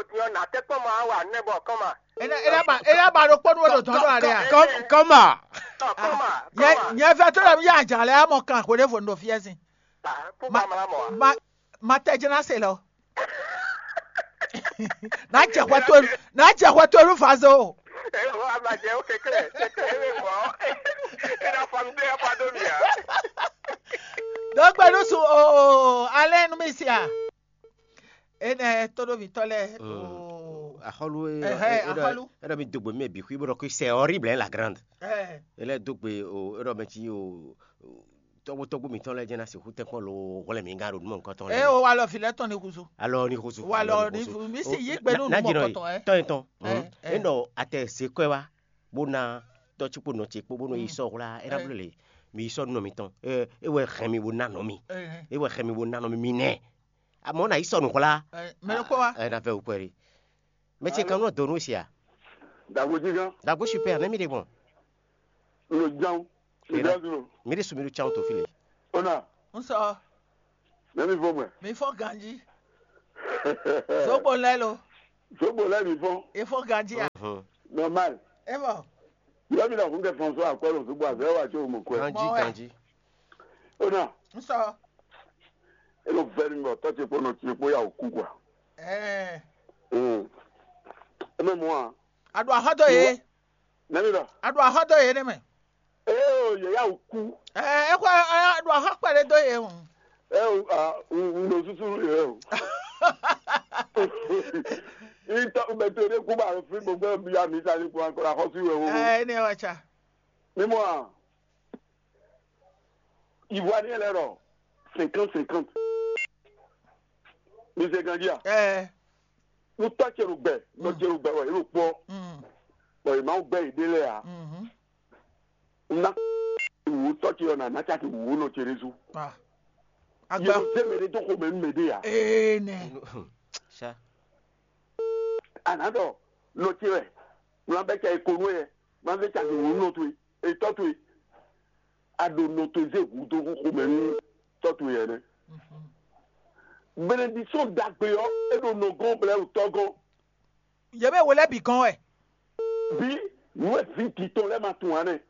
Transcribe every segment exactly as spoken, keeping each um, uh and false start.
vodun ɔ́, nǎ tɛ́ kpɔ́n ma wa nɛ́ bɔ kɔ́ma. Ena ena ba ena ba ɖokpó nu ɖo dɔn ɖo ale a. Kɔ́- kɔ́ma. Tɔ kɔ́ma. Nyɛ Kɔ́ma. Nyɛ vɛ tó ɖe mi yá adzǎ lɛ amɔ kan hwě ɖěvo ɖo fiɛ́sin. Ah, kó Ma- ba mla mɔ a. Ma ma tɛ jɛn ná se lɔ. N'a jɛ hwɛ tó n'a jɛ hwɛ tó nu fa zo. Ɛ wá ma jɛ ó kɛkɛ kɛkɛ ɛ bɛ mɔ. Ena fam de apa do mi a. Dɔgbe nu su o o alɛ nu mi si a. Ene toɖovitɔ lɛ o. Axɔlu e Ɛhɛ, e- e- axɔlu. E ɖɔ mi dogbe mɛ bi xwi bɔ ɖɔ que c'est horrible hein, la grande. Ɛ E lɛ dogbe o e ɖɔ mɛ ci o tɔgbo tɔgbo mitɔn lɛ jɛn na sixu tɛnkpɔn lo hwlɛ mi ga ɖo numɔ nukɔtɔn lɛ. E o wa lɔ fi lɛ tɔn ni kuzu. Alɔ ni kuzu. Wa lɔ ni kuzu mi si yi gbe nu numɔ kɔtɔn ɛ. Tɔn etɔn. Ɛ, ɛ. E nɔ atɛ se kɔɛ wa bó na tɔtsi kpo nɔ ce kpo bó nɔ yi sɔ hwla e na bló le mi yi sɔ nɔ mitɔn. E wɛ hɛn mi bó na nɔ mi. E wɛ hɛn mi bó na nɔ mi mi nɛ. Amɔ na yi sɔ nu hwla. Mɛ ɖokpó wa. E na fɛ wukpɛ ɖi. Mɛ ce kan nɔ donu sia. Dagbo jígán. Dagbo super ne mi de gbɔn. Lo jam. Mi de su mi do tsan to fili. Ona. N sɔ. Ne mi fɔ mɛ. Mi fɔ ganji. Zogbo lɛ lo. Zogbo lɛ mi fɔ. E fɔ ganji a. Normal. E fɔ. Yɔ mi na hun kɛ fɔn so akwɛ lo so bɔ azɛ wa tso mo kwɛ. Ganji, Mɔ wɛ. Ganji. O na, N sɔ. E no vɛ mi bɔ tɔ ce kpo nɔ ce kpo ya o ku kwa. Ɛɛ. Mm. E mɛ mɔ a. A ɖo axɔ dó yě. Nɛ mi ɖɔ. A ɖo axɔ dó yě nɛ mɛ. Ee o yɛ ya o ku. Ɛɛ, e xɔ a ɖo axɔ kpɛɖé dó yě o. Ɛ o a un ɖo susu yɛ o. Itɔ bɛ to ɖe kú ba fi gbogbo bi ya mi ta ni kú akɔ la xɔsu yɛ o. Ɛɛ, ne wa tsa. Mímɔ a, Ivoirien lɛ́ɛ ɖɔ cinquante cinquante. Mi se ganjí a? Ɛɛ. Nú tɔ́ ce ɖo gbɛ, nɔ ce ɖo gbɛ wɛ, é ɖo kpɔ́. Mm. Bɔ è ma gbɛ yě ɖé lɛ́ɛ a? Mhm. Un ná wǔ tɔ́ ce ɔ́ nǎ ná caki wǔ nɔ ce ɖésú. Ah. Yě Agba. Ɖo zé mɛ ɖé dó xomɛ nú mɛ ɖé a? Ee nɛ. Sha. A nǎ ɖɔ nɔ ce wɛ, un ná bɛ́ caki ko nú ɛ, un ná zé caki wǔ nɔ towe, è tɔ́ towe. A ɖo nɔ towe zé hǔ dó xomɛ nú tɔ́ towe ɛnɛ. Benediction ɖagbe ɔ́, é ɖo nɔ gɔ́n bɔ é ɖo tɔ́ gɔ́n. Yě mɛ we lɛ́ɛ bǐ gɔ́n wɛ. Bí nǔ e vǐ dǐtɔn lɛ́ɛ ma tunwun ǎ nɛ́.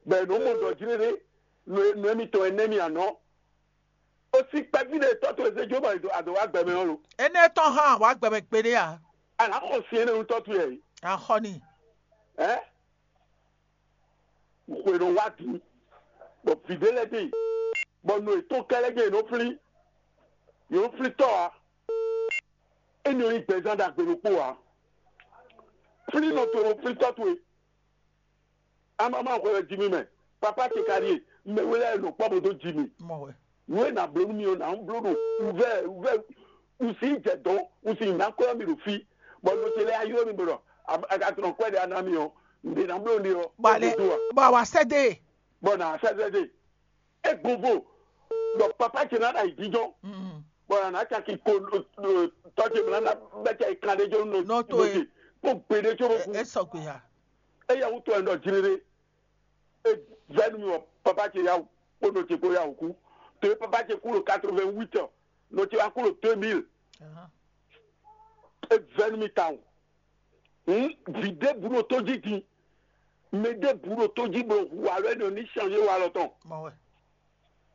Bɔ è nǒ mɔ ɖɔ jlé ɖé, nǔ e nǔ émítɔn énɛ́ mì anɔ̌. O sí kpɛví ɖé tɔ́ towe zé jó bɔ a dǒ wá gbɛ mɛ ɔ́ lo. Énɛ́ tɔn hán wǎ gbɛ mɛ gbeɖé ǎ. A nǎ xɔ sin énɛ́ nú tɔ́ towe ǎ. A xɔ n'i. Ɛ? Xwe nɔ wá din, bɔ vǐ ɖé lɛ́ɛ ɖe, bɔ nɔ yětɔn kɛ́ lɛ́ɛ ɖe yě nɔ flín, yě nɔ flín tɔ́ ǎ. É nɔ nyí gbɛzán ɖagbe ɖokpó ǎ. Flín nɔ towe nɔ flín tɔ́ towe. Amama xwe wɛ ji mì mɛ, papa ce ka ɖíe, mɛ we lɛ́ɛ nɔ kpɔ́ bó dó ji mì. Mɔ wɛ. Nǔ e nǎ bló nú mi ɔ́, nǎ bló ɖo wǔvɛ́ wǔvɛ́ wǔ sí jɛ dɔ̌n wǔ sí ná kwɛ́ mi ɖo fí, bɔ nɔ ce lɛ́ɛ ylɔ́ mi bɔ ɖɔ a ka tlɔ́n kwɛ́ ɖé a ná mi ɔ́, nǔɖé ná bló nɖé ɔ́, Bɔ alɛ é dó a? Bɔ awa sɛ dé. Bɔ nǎ sɛ́ sɛ́ dé. É gbɔn vo, bɔ papa ce ná ɖo ayǐjínjɔ́n, Mm. Bɔ nǎ ná caki ko tɔ́ ce mlá ná bɛ́ caki kan ɖé jó nɔ Nɔ towe. Nɔ ce kó gbe ɖé có bó kú. E sɔgbe ya. Eya wútu wɛ un ɖɔ jlé ɖé. É vɛ́ nú mi wɔ papa ce yá wǔ kpódó ce kpó yá wǔ kú. To e papa ce kú ɖo quatre-vingt-huit ɔ, nɔ ce wá kú ɖo deux mille. Ahán. É vɛ́ nú mi tawun. Hǔn vǐ ɖěbǔ ɖo tó jí din. Mɛ ɖěbǔ ɖo tó jí bó hu alɔ énɛ́ ní changé walɔ tɔn. Mɔ wɛ.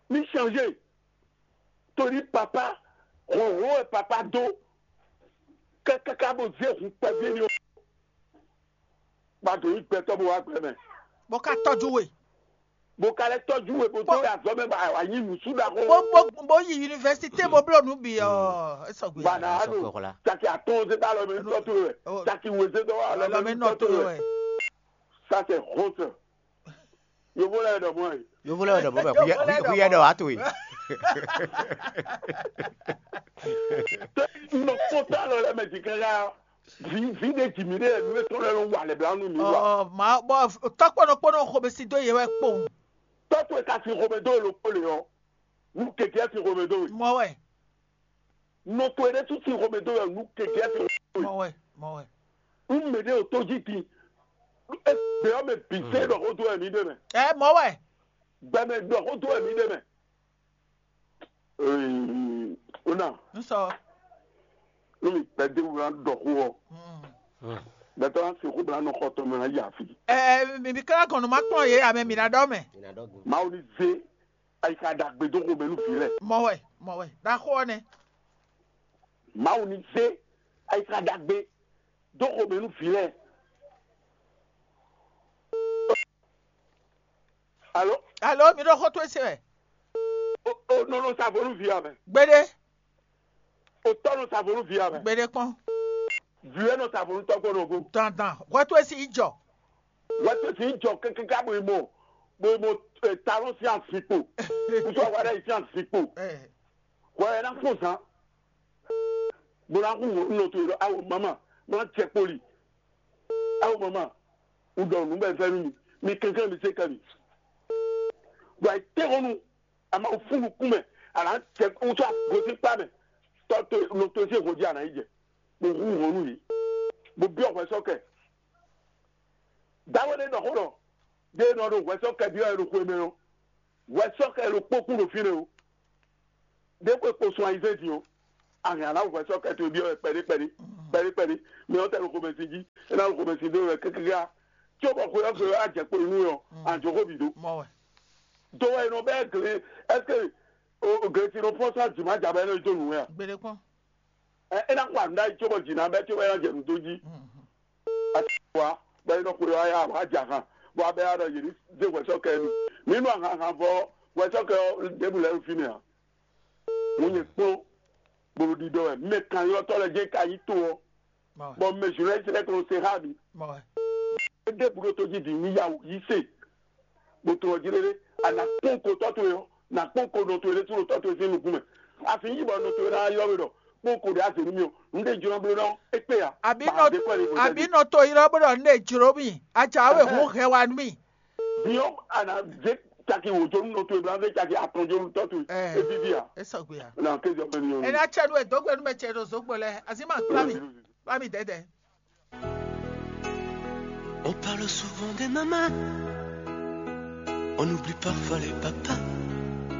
Ní changé. Torí papa, hlɔ̌nhlɔ́n wɛ papa dó. Kákáká bó zé hun kpɛví ní ɔ́. Ba dǒ nyí gbɛtɔ́ bó wá gbɛ mɛ. Bó ká tɔ́jú we. Bó ka lɛ́ tɔ́jú we bó dó Bó- azɔ̌ mɛ ba wà nyí nǔsú ɖaxó. Bó bó bó yi yunivɛsité bó bló nǔ bǐ ɔ. É sɔgbe. Bana Sɔgbe alo xɔ la. Caki atɔn zé dó alɔ mɛ nutɔ to wɛ. Oh. Caki we zé dó alɔ Alɔ mɛ mɛ nutɔ nɔ to to wɛ. Ça c'est honte. Yovo lɛ dɔ mɔ yi. Yovo lɛ dɔ mɔ bɛ. Yovo lɛ dɔ mɔ. Kuyɛ dɔ ato yi. Nɔ kpɔtɔ alɔ lɛ mɛ jikɛ ya. Vi vi ɖe jimi ɖe nu etɔn lɛ lɔ wa lɛ bla nu mi wa. Ɔ ma bɔ tɔkpɔnɔ kpɔnɔ xɔmɛsi dó yɛ wɛ kpɔn. Tɔtɔ e ka si xɔmɛ dó lo kpɔ le ɔ. Nu keke si xɔmɛ dó we. Mɔ wɛ. Nɔ to ɖe tu si xɔmɛ dó we nu keke si xɔmɛ dó we. Mɔ wɛ mɔ wɛ. Nu mɛ ɖe o to ji ti. Egbe ɔ mɛ bi se ɖɔ ko do wɛ mi ɖe mɛ. Ɛ mɔ wɛ. Gbɛmɛ ɖɔ ko do wɛ mi ɖe mɛ. Ee, o na. N sɔ. Nu mi gbɛdé wura ɖɔ ko ɔ. Gbɛtɔ na se ko bla nɔ xɔ tɔn mɛ na yi afi. Ɛ mi mi kla gɔn nu ma kplɔn ye amɛ mi na ɖɔ mɛ. Mawu ni ze ayika ɖagbe dó xomɛ nú vi lɛ. Mɔ wɛ mɔ wɛ ɖaxó ɔ nɛ. Mawu ni ze ayika ɖagbe dó xomɛ nú vi lɛ. Alo. Alo mi ɖo xó towe se wɛ. O o nɔnɔ sa vo nú vi amɛ. Gbede. O tɔ nɔ sa vo nú vi amɛ. Gbede kpɔn. Vi wɛ nɔ sa vo nú tɔgbɔ nɔ go. Dandan hwɛ towe si yi jɔ. Hwɛ towe si yi jɔ kekeka bo yi mɔ bo yi mɔ talon si asikpo. Kutu awa ɖe yi si asikpo. Hwɛ yɛ na fún zan. Bó ná hu nɔ towe ɖɔ awo mama má jɛ kpoli. Awo mama un ɖɔ nǔ bɔ è vɛ́ nú mi, mi kɛnklɛ́n mi zé kɛ mi. Ɖo ayǐtéhɔ́nnu a ma fún nukún mɛ, a nǎ jɛ wútu gosín kpá mɛ, tɔ́ to nɔ to sín hɔnjí a nǎ yi jɛ, bó hu hɔn nú yě, bó byɔ́ hwɛ sɔ́ kɛ. Dáwé ɖé ɖɔ xó ɖɔ, ɖé nɔ ɖo hwɛ sɔ́ kɛ byɔ́ ɛ ɖo xwe mɛ ɔ́, hwɛ sɔ́ kɛ ɖo kpókún ɖo fínɛ́ o. Ɖě xwe kpo sun ayizɛ́n din ɔ́, a hɛn a nǎ hu hwɛ sɔ́ kɛ towe byɔ́ wɛ kpɛɖé kpɛɖé kpɛɖé kpɛɖé. Mɛ ɔ́ tɛ ɖo xomɛsin jí, é ná ɖo xomɛsin dó wɛ kákáká. Cóbɔ xwe ɔ́ gbe wɛ á jɛ kpo nú ɛ ɔ́, anjǒxó bǐ dó. Mɔ wɛ. Do wɛ è nɔ bɛ́ gle, ɛseke glesi nɔ fɔ́n sɔ́ jǐ ma ja bɔ é nɔ yi dó nǔ wɛ a? Gbeɖé kpɔ́n. Ɛ é ná xɔ nǔ ɖ'ayǐ cóbɔ jǐ ná bɛ́ cóbɔ é ná jɛ nǔ dó jí. Ati wa bɔ é nɔ xwe wá ya wá ja han bɔ abɛ ya ɖɔ yě ní zé hwɛsɔ́kɛ mi. Mǐ nɔ ahan han vɔ hwɛsɔ́kɛ ɔ́ ɖěbǔ lɛ́ɛ ɖo fínɛ́ ǎ. Mo nyɛ kpɔ́n bolo ɖiɖɔ wɛ mɛ kan ylɔ́tɔ́ lɛ́ɛ jɛ ka yi to ɔ́, bɔ mɛ Israɛ́li lɛ́ɛ kɔn se xá mi. Mɔ wɛ. Éɖé búɖó tó jí vǐ ní yá wǔ yí se, bó tlɔ jí lélé, a nǎ kpɔ́n ko tɔ́ towe ɔ́, nǎ kpɔ́n ko nɔ towe lé sú ɖo tɔ́ towe sín nukún mɛ. A sì yí bɔ nɔ towe ná ylɔ́ we ɖɔ kpɔ́n ko ɖě a zě nú mì ɔ́, un ɖe jlɔ́ bló ná ɔ́, é kpé ǎ. Àbí Bɔ nɔ a zě kɔ lě bó àbí nɔ to ylɔ́ bó ɖɔ un ɖe jló mì, aca we hun hɛ wa nú mì. Din ɔ́, a nǎ zé caki wǒ jó nú nɔ towe bó ná zé caki atɔn jó nú tɔ́ towe. Ɛ. É víví ǎ. É sɔgbe ya. Nà kéjì ɔmɛ ni Ena tsɛ nu e dó gbe nú mɛ ce ɖo zǒgbo lɛ, azí ma kplá mi, kplá mi dɛdɛ. On parle souvent des mamans. On oublie parfois les papas.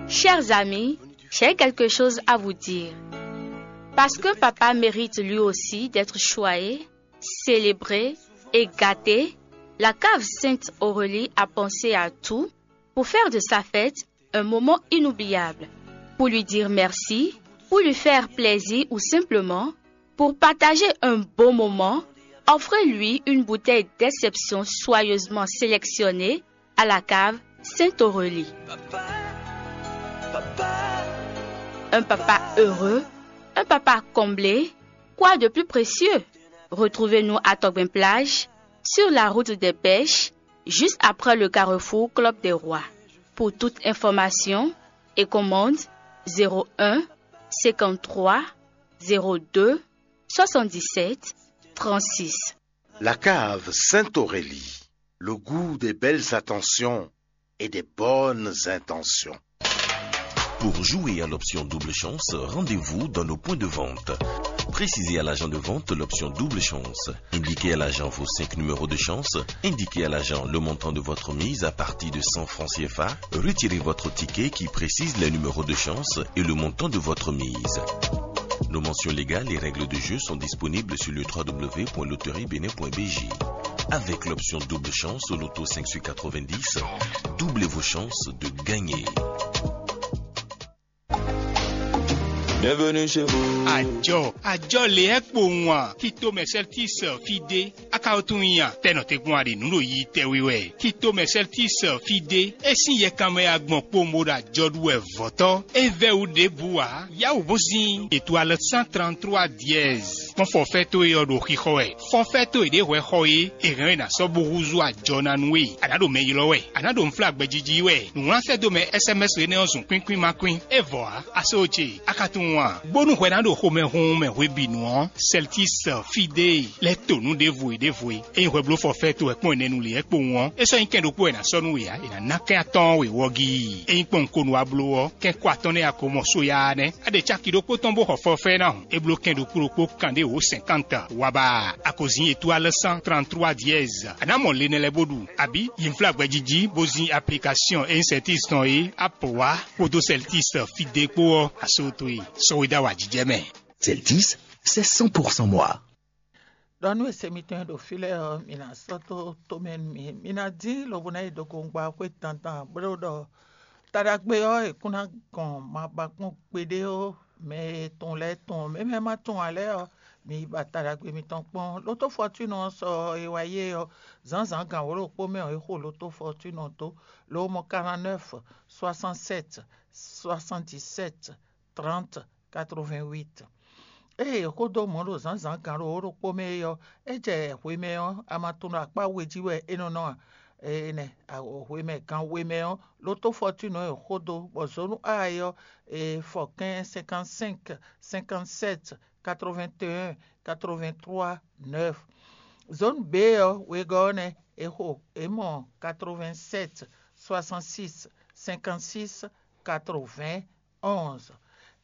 Chers amis, j'ai quelque chose à vous dire. Parce que papa mérite lui aussi d'être choyé, célébré et gâté, la cave Sainte Aurélie a pensé à tout pour faire de sa fête un moment inoubliable. Pour lui dire merci, pour lui faire plaisir ou simplement pour partager un bon moment, offrez-lui une bouteille d'exception soigneusement sélectionnée à la cave Sainte-Aurélie. Un papa heureux, un papa comblé, quoi de plus précieux? Retrouvez-nous à Togben Plage, sur la route des pêches, juste après le carrefour Club des Rois. Pour toute information et commande, zéro un, cinquante-trois, zéro deux, soixante-dix-sept, trente-six. La cave Sainte-Aurélie, le goût des belles attentions et des bonnes intentions. Pour jouer à l'option double chance, rendez-vous dans nos points de vente. Précisez à l'agent de vente l'option double chance. Indiquez à l'agent vos cinq numéros de chance. Indiquez à l'agent le montant de votre mise à partir de cent francs C F A. Retirez votre ticket qui précise les numéros de chance et le montant de votre mise. Nos mentions légales et règles de jeu sont disponibles sur le w w w point loterie bénin point b j. Avec l'option double chance au loto cinq sur quatre-vingt-dix, doublez vos chances de gagner. Bienvenue chez vous. Àjọ àjọ lě ɛ kpowun a kí tó mɛ Celtics fí dé. Akawo tún nyi a tɛnɔ te gbɔn aɖe nǔ ɖo yi tɛwi wɛ kí tó mɛ Celtics fí dé. É sín yɛkanmɛ agbɔn kpowun bó ɖo àjɔ ɖu wɛ vɔ̌tɔ́. É vɛ́ wú ɖěbǔ ǎ. Yáwǔ bó zín ètò alɔ cent trente-trois dièse. Kpɔ́n fɔfɛ́ towe ɔ́ ɖo xixɔ wɛ. Fɔfɛ́ towe ɖě hwɛ xɔ é, è hɛn ɛ ná sɔ́ bó húzú àjɔ ná nú we. A nǎ ɖo mɛ ylɔ́ wɛ. A nǎ ɖo nflá gbɛjiji wɛ. Nǔwlán sɛ́ dó mɛ S M S énɛ́ ɔ́ zun kwín kwín ma kwín. É vɔ ǎ, a só ce, a ka tunwun a? Bónú hwɛ ná ɖo xomɛ hunhun mɛ hwebǐnu ɔ́, Celtics fí dé lɛ́ to nǔ ɖěvo e ɖěvo e. Ényí hwɛ bló fɔfɛ́ towe kpɔ́n nɛnu lě ɛ kpowun ɔ́, é sɔ́ nyí kɛn ɖokpó wɛ è nǎ sɔ́ nú we ǎ, è nǎ ná kɛn atɔ́ɔ́n we wɔ́gí. Ényí kpɔ́n un ko nu wá bló ɔ́, kɛn kɔ atɔn nɛ́ a ko mɔ sóyá nɛ́. A ɖe caki ɖokpó tɔn bó xɔ fɔfɛ́ ná hǔn. É bló kɛn ɖokpó ɖokpó kan ɖé wǒ cinquante wá ba. A ko zin étoile cent trente-trois dièse. A nǎ mɔ le nɛ lɛ́ɛ bó ɖu, abǐ yi nflá gbɛjiji bó zin application Incertis tɔn é, Apple wá kpódó Celtics fí dé kpó ɔ́, a só towe sɔ́ we dó awǎjijɛ mɛ. Celtics, c'est cent pour cent moi. Ɖɔ nú ese mitɔn e ɖo fí lɛ́ɛ ɔ́, mi ná sɔ́ dó tomɛ nú mì. Mi ná dín lobo ná yi ɖo gongba xwé dandan, bó ɖɔ taɖagbe ɔ́ è kún ná gɔn ma ba kpɔ́n gbeɖé ó. Mɛ e tɔn lɛ́ɛ tɔn, mɛ mɛ ma tɔn ǎ lɛ́ɛ ɔ́, mi yi ba taɖagbe mitɔn kpɔ́n. Lotó Fortune ɔ́ sɔ e wá yé ɔ́, zǎnzǎn gǎn wǒ ɖokpó mɛ ɔ́, é xo Lotó Fortune ɔ́ dó, lo mɔ quarante-neuf, soixante-sept, soixante-dix-sept, trente, quatre-vingt-huit. Ée xó dó mɔ̌ ɖo zǎnzǎn gǎn ɖo wǒ ɖokpó mɛ é ɔ́, é jɛ hwemɛ ɔ́, a ma tunwun ɖɔ akpá we jí wɛ é nɔ nɔ a? Énɛ́, hwemɛ gan we mɛ ɔ́, Lotó Fortune ɔ́ è xó dó, bɔ zǒnú A é ɔ́, è fɔ kɛ́n cinquante-cinq, cinquante-sept, quatre-vingt-un, quatre-vingt-trois, neuf. Zone B ɔ́, wegɔ́ ɔ́ nɛ́, è xo, è mɔ quatre-vingt-sept, soixante-six, cinquante-six, quatre-vingts, onze.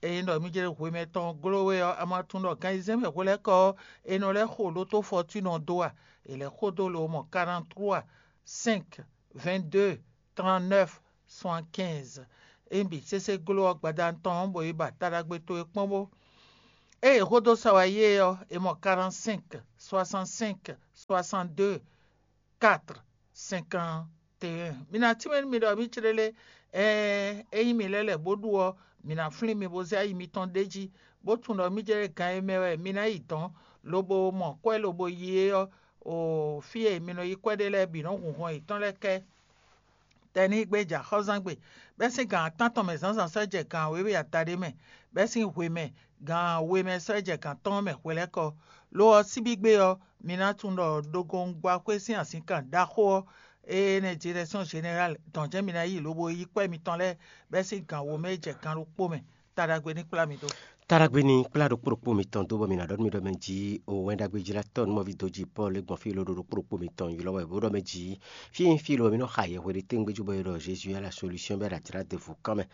Ényí ɖɔ mí jlé hwemɛ tɔn gló we ɔ́, a ma tunwun ɖɔ gan ayizɛ́n mɛ hwelɛ́kɔ ɔ́, è nɔ lɛ́ xo Lotó Fortune ɔ́ dó a? È lɛ́ xo dó lo mɔ quarante-trois, cinq, vingt-deux, trente-neuf, soixante-quinze. Ényí bǐ sésé gló ɔ́, gbadanu tɔn ɔ́, bɔ è ba taɖagbe towe kpɔ́n bó. Ée è xó dó sa wá yé ɔ́, è mɔ quarante-cinq, soixante-cinq, soixante-deux, quatre, cinquante et un. Mi ná tínmɛ nú mi ɖɔ mì céɖélé, ɛɛ, ényí mi lɛ́ lɛ̌ bó ɖu ɔ́, mǐ ná flín mi bó zé ayi mitɔn ɖ'é jí, bó tunwun ɖɔ mì jɛ gan e mɛ wɛ mi ná yi dɔ̌n, lobo mɔ kwɛ́ lobo yi é ɔ́, o fí e mi nɔ yí kwɛ́ ɖe lɛ́ɛ bǐ nɔ́ hun hɔn yětɔn lɛ́ɛ kɛ. Tɛnígbe jɛ axɔ́zán gbe, bɛ́ sín gan atɔ́ɔ́n mɛ zǎnzǎn sɔ́ jɛ gan wěwe adaɖé mɛ, bɛ́ sín hwe mɛ gan we mɛ sɔ́ jɛ gan atɔ́ɔ́n mɛ hwelɛ́kɔ. Lo ɔ́, síbígbe ɔ́, mi ná tunwun ɖɔ ɖogoŋgbɔ́ xwé sín azǐnkan ɖaxó ɔ́, énɛ́ Direction Générale dɔn jɛ́n mi ná yi lobo yí kwɛ́ mitɔn lɛ́ɛ bɛ́ sín gan wo mɛ e jɛ gan ɖokpó mɛ. Ta ɖagbe ní kplá mi dó. Ta ɖagbe ní kplá ɖokpó ɖokpó mitɔn dó, bɔ mi ná ɖɔ nú mi ɖɔ mɛ jí o wɛn ɖagbe jlátɔ́ nú mɔví dó jí Pɔ́lu e gbɔn fí lo ɖo ɖokpó ɖokpó mitɔn ylɔ́ wɛ bó ɖɔ mɛ jí fí e fí lo mi nɔ xa yɛhwe ɖé tɛ́ngbé jú bɔ è ɖɔ Jézu wɛ la solution bɛ ɖo ajlá ɖěvo kán mɛ,